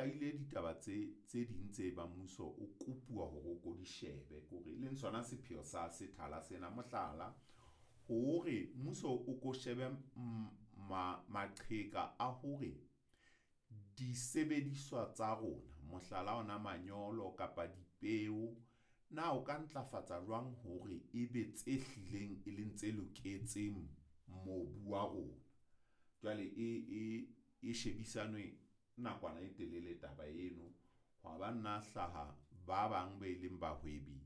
hlahile ditaba tse ding tse bang mmuso o kopuwa hore o ko di shebe kore e leng sona sepheo sa sethala sena. Mohlala, hore mmuso o ko shebe maqheka a hore disebediswa tsa rona, mohlala ona manyolo kapa dipeo, na o ka ntlafatsa jwang hore e be tse hlileng e leng tse loketseng mobu wa rona. Jwale e shebisanwe nakwana e telele taba eno. Hwa ba nna hlaha ba bang be leng bahwebi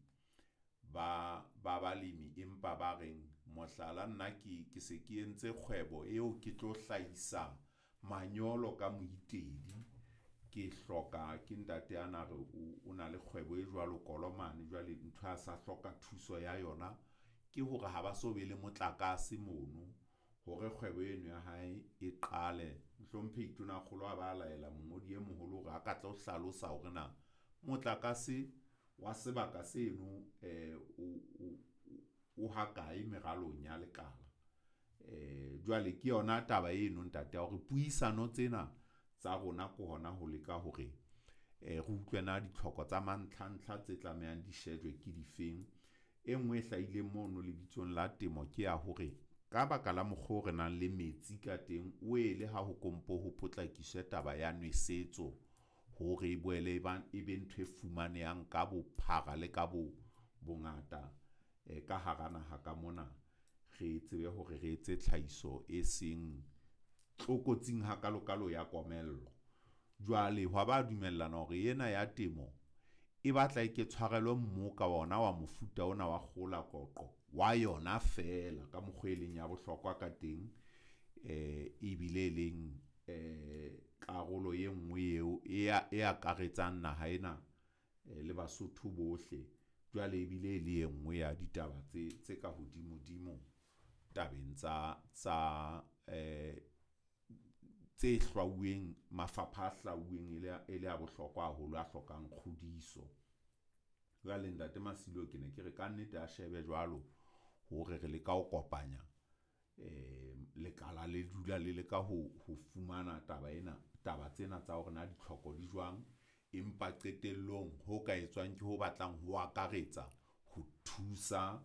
ba balemi, empa ba reng mohlala, nna ke se ke entse kgwebo eo ke tlo hlahisa manyolo ka moitedi. Ke hloka ke ntate ana re o na le kgwebo e jwalo Kolomane. Jwale ntho a sa hloka thuso ya yona ke hore ha ba so be le motlakase mono hore kgwebo eno ya hae e qale. Mohlomphehi Tonakgolo a ba laela mongodi e moholo hore a ka tlo hlalosa hore na motlakase wa sebaka seno o ha kae meralong ya lekala. Jwale ke yona taba eno ntate ya hore puisano tsena tsa rona ke hona ho leka hore re utlwe na ditlhoko tsa mantlha-ntlha tse tlamehang di shejwe ke difeng. E nngwe e hlahileng mono lebitsong la temo ke ya hore ka baka la mokgwa o re nang le metsi ka teng, wele ha ho ko mpo ho potlakiswe taba ya nwesetso hore e boele e ba e be ntho e fumanehang ka bophara le ka bo bongata ka hara naha ka mona. Re tsebe hore re etse tlhahiso e seng tlokotsing hakalokalo ya komello. Jwale hwa ba dumellana hore ena ya temo e batla e ke tshwarelwe mmoka ona wa mofuta ona wa kgola koqo wa yona feela ka mokgwa e leng ya bohlokwa ka teng, ebile e leng karolo e nngwe eo e akaretsang naha ena le Basotho bohle. Jwale ebile e le e nngwe ya ditaba tse ka hodimo-dimo tabeng tsa tse hlwauweng, mafapha a hlwauweng e le a bohlokwa haholo, a hlokang kgodiso. Jwale Ntate Masilo ke ne ke re kannete a shebe jwalo hore re leka ho kopanya lekala le dula le leka ho fumana taba ena, taba tsena tsa hore na ditlhoko di jwang. Empa qetellong ho ka etswang ke ho batlang ho akaretsa ho thusa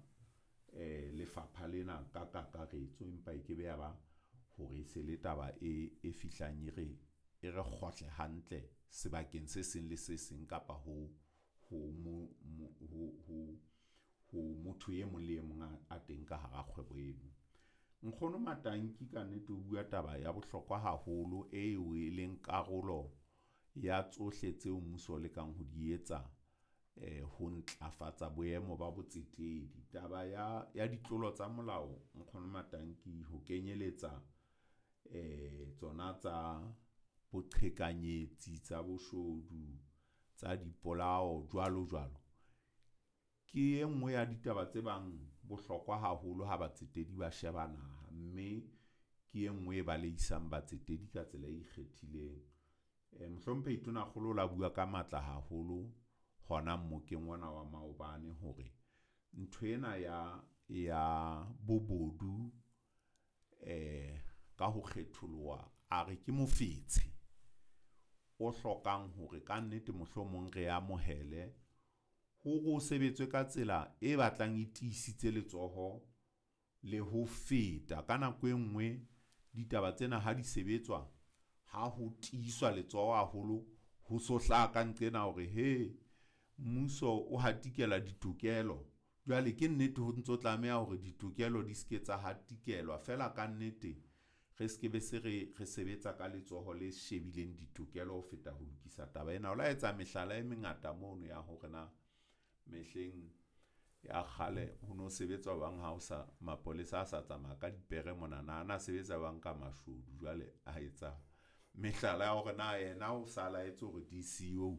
lefapha lena ka kakaretso. Empa e ke be ya ba hore e se le taba e fihlang e re e re kgohle hantle sebakeng se seng le se seng kapa ho motho e mong le e mong a teng ka hara kgwebo eno. Nkgono Matanki kannete o bua taba ya bohlokwa haholo eo e leng karolo ya tsohle tseo mmuso o lekang ho di etsa ho ntlafatsa boemo ba botsetedi. Taba ya ditlolo tsa molao Nkgono Matanki ho kenyeletsa tsona tsa boqhekanyetsi, tsa boshodu, tsa dipolao, jwalo jwalo. Ke e nngwe ya ditaba tse bang bohlokwa haholo ha batsetedi ba sheba naha, mme ke e nngwe e baleisang batsetedi ka tsela e ikgethileng. Mohlomphehi Tonakgolo o la bua ka matla haholo hona mmokeng ona wa maobane hore nthwena ya bobodu ka ho kgetholoha, a re ke mofetshe o hlokang hore kannete mohlomong re amohele hore o sebetswe ka tsela e batlang e tiisitse letsoho le ho feta. Ka nako e nngwe ditaba tsena ha di sebetswa ha ho tiiswa letsoho haholo, ho so hlaha ka nqena hore he mmuso o hatikela ditokelo. Jwale ke nnete ho ntso tlameha hore ditokelo di se ke tsa hatikelwa feela kannete re se ke be se re re sebetsa ka letsoho le shebileng ditokelo ho feta ho lokisa taba ena. O la etsa mehlala e mengata mono ya hore na mehleng ya kgale ho no sebetsa jwang ha o sa mapolesa a sa tsamaya ka dipere mona na, a na sebetsa jwang ka mashodu. Jwale a etsa mehlala ya hore na yena o sa laetse hore DCEO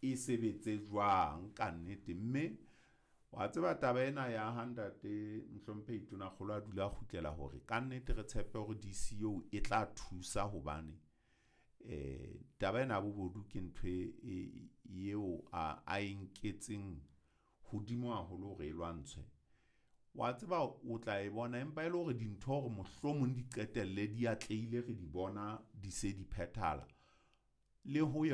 e sebetse jwang kannete. Mme wa tseba taba ena ya ha Ntate Mohlomphehi Tonakgolo a dula a kgutlela hore kannete re tshepe hore DCEO e tla thusa hobane taba ena ya bobodu ke ntho e eo a e nketseng hodimo haholo hore e lwantshwe. Wa tseba o tla e bona, empa e le hore dintho hore mohlomong di qetelle di atlehile, re di bona di se di phethahala le ho yona.